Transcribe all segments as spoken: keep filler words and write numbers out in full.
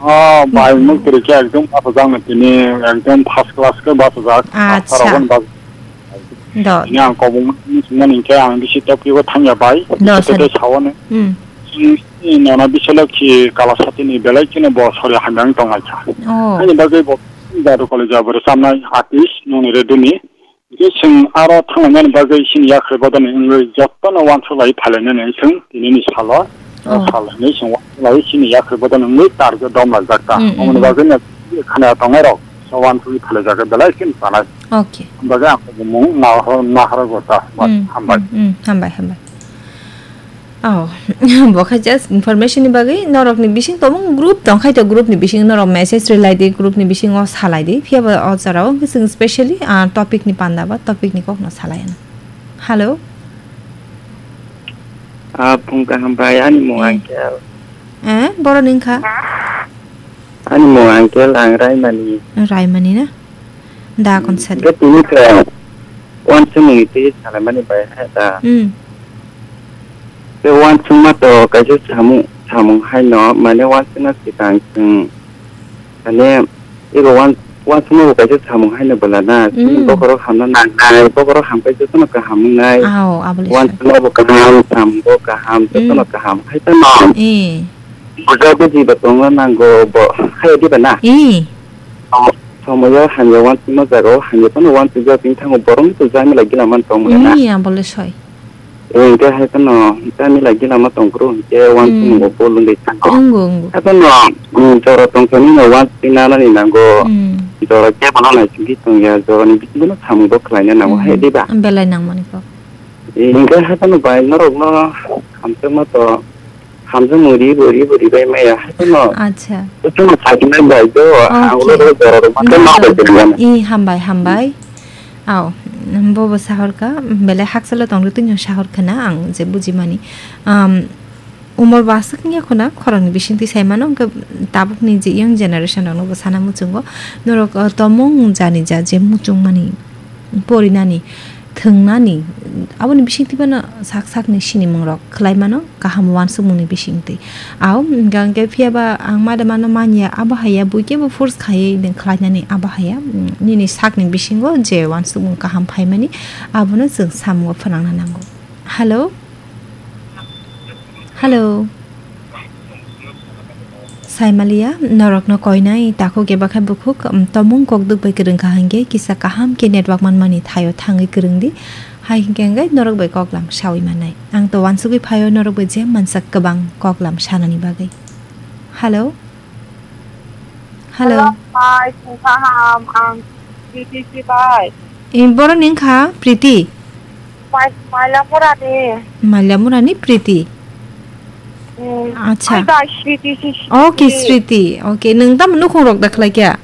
Oh, bai, hmm, muk tiri khe ekdom bachajak na tini, ekdom first class khe bachajak. Acha. Asarok bas-, do. Ini ang kobong sumani khe ang bisi topic o thangya bai. Do, bisi sir. Tete sawani. Hmm. Sini nona bisalo khi kala satini belai kino bo sori hamyang tonglaikha. Oh. Ani bagwi bo Jadu College abo rwchapnai artist nongni reduni. Hingke chwng aro thanglainani bagwi chini yakhrai bodolni wngwi jotono uansuk lai phailainani chwng tinini salo, oh, sal hinwi chwng uansuk lai chini yakhrai bodolni wngwi target dom laijak ta. Mm, mm, omoni mm, bagwi no khana tongnai rok so uansugwi phailaijak belai chini sanai. Okay. Bagwi ang bumung nahar, nahar gota. Mm, hambai. Mm, mm, hambai, hambai. Oh, bo khe just information ni bagwi norok ni bising tongmung group tong khai to, group ni bising norok message rwlai di, group ni bisingo salai di. Phiya ba o jora o chwng specially, ah, topic ni panda ba topic ni kok no salai ano. Hello. Ah, phung kaham bai, ani mung, eh, Angkel. Eh, borok ni wngkha? Ani mung Angkel, ang Raimani. Raimani na? Da, hmm, kon sadi. Hingke tini khe uansukmungni twi salaimani bai hai da. Hmm. Tei uansukma to kaisa samung, samung haino, mane uansukna swkang chwng, mane, ego uan-, uansukma bo kaisa samung haino bwla na, chini, hmm, bokhorok hamna nangnai, bokhorok hamkhe jotono kaham wngnai. Ao, aboni sai. Uansukma bo kaham, samung bo kaham, jotono, hmm, kaham, hai tamo. Eh. Buja buji bo tongna nango bo, hai diba na? Eh. Somoyo hamya uansukma jagao hamya phano uansukjak, bini thango borokno to jamila gila man tong mwnai na. Iya, bole soi. Hingke hai phano jamila gila ma tong phuru hingke uansukmung, hmm, bo bol wngwi thango. Wngo, wngo. Hai phano, mm, jora tongthoknino uansukwi nanani nango. Hmm. Jora kebo no naisingwi tongya, jorani bisingo no samung bo khlaina nango, hmm, hai diba? Belai nangmani kok. Hingke hai phano bai norokno hamjakma to Hamjakmung ribo, ribo, ribai maya. Haikhe no. Acha. Chwngno saknai bai do, ang ulo, okay, ulo jora rok ma, no, ma no, bai kwrwngya. I, hambai, hambai. Ao, bobo sahorkha, belai hakchalo tongri twino sahorkha na, ang je bujimani. Um, umor bo aswk wngya khuna, khoroknwi bisingtwi saimano, hwnkhe tabukni je young generation rokno bo sana muchungo. Norok, uh, tomung jani ja je muchungmani, porinani, thwngnani, aboni bisingtwi bono sak sakni sinimungrok khwlai mano. Kaham uansukmungni bisingtwi. Ao, hwnkha hwnkhe phiyaba ang ma de mano manya, abo haiya buikhe bo force khaiwi nwng khlainani abo haiya, mm, nini sakni bisingo je uansukmung kaham phaimani, abono chwng samungo phwnangna nango. Hello? Hello? Saimaliya, norokno koinai takhuk eba khe bukhuk, um, tomung kokduk bai kwrwngkha hwnkhe kisa kaham khe network manmani thaio thangwi kwrwngdi. Hai hwnkhe hwnkhe norok bai koklam sawi mannai. Ang to uansugwi phaio norok bai je mansak kwbang koklam sanani bagwi. Hello? Hello? Hello, hi, phung kaham, ang Priti si bai. Eh, borok ni wngkha Priti? Mai-, Mailamurani. Mailamurani Priti? Hmm. Acha. Ai bai, Sriti si, Sriti. Okay, Sriti. Okay, nwng tamo nukhung rok da khlai kya?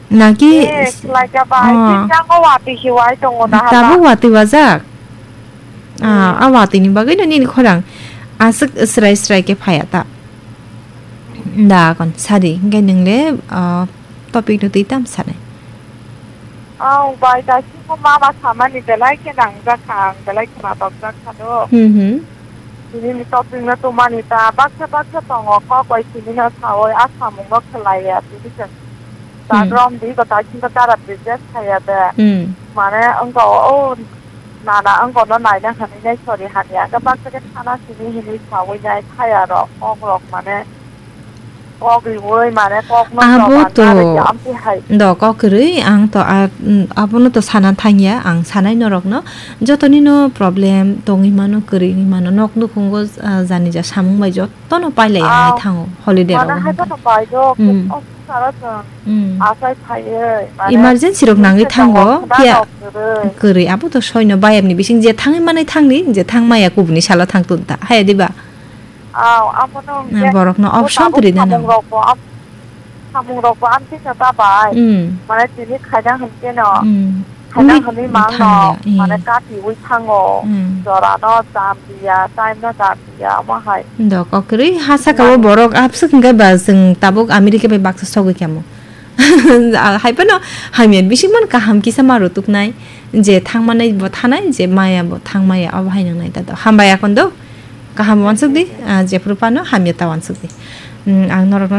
Naki eh, s-, khlai kya bai. Oh. Sini ang watwi si wai tongo na hala. Tabuk watwi wajak? Ah, hmm, a watwi ni bagwi no nini khorang aswk srai srai khe phaya ta. Da kon sadi, hwnkhe nwng le, ah, topic no twi tam sanai. Ang bai daising ko mama samani belai khe nangjak kha, ang belai khna tokjak kha do. Hmm, hmm. Tini ni topic no tumani ta baksa baksa tongo, kok bai tini no sawi a samung no khlai ya, tini se. Hmm. Sagrom di ko daising ko dara business khaya de. Hmm. Mane wngka o, o nana wngka no naina hinwi nai sori hamya, ang baksa khe thana simi hinwi sawi nai khaya rok, kok rok mane. Kok riui mane kokno abo to amtwi hai. Do kok kwrwi ang to a, mm, abono to sana thangya, ang sanai norokno jotoni no problem tongwi mano, kwrwi wngwi mano, nok nukhungo, ah, jani ja samung bai jotono pailai ya, ah, hinwi thango holiday mane rok hai wngkha. Bono bai do, mm, office sara chwng, mm, asai phaiwi mane emergency rok nangwi thango, phiya kwrwi. Kwrwi abo to soino bayapni bising je thangwi manai thangdi, je thang maya kubuni salo thang tun ta haya diba? Aw, abono hwnkhe borokno option kwrwi nang. Samung rokbo am-, samung rokbo amtwi khe ta bai. Hmm. Mane tini khaina hwnkhe no. Hmm. Khaina hwnwi mangno, hmm, mane katiui thango. Hmm. Jorano jam diya, time no jam diya, omo hai. Do kokrwi ha saka o borok abswk hwnkhe ba chwng tabuk America bai baksa sogwi kamo. Hai phano hamya bising man kaham kisa ma rutuknai, je thangmanai bo thanai, je maya bo thangmaya, obo hai nang nai ta do. Hambai akon do. Kaham uansuk di, ah, jephuru phano hamya ta uansuk di. Mm, ang norokno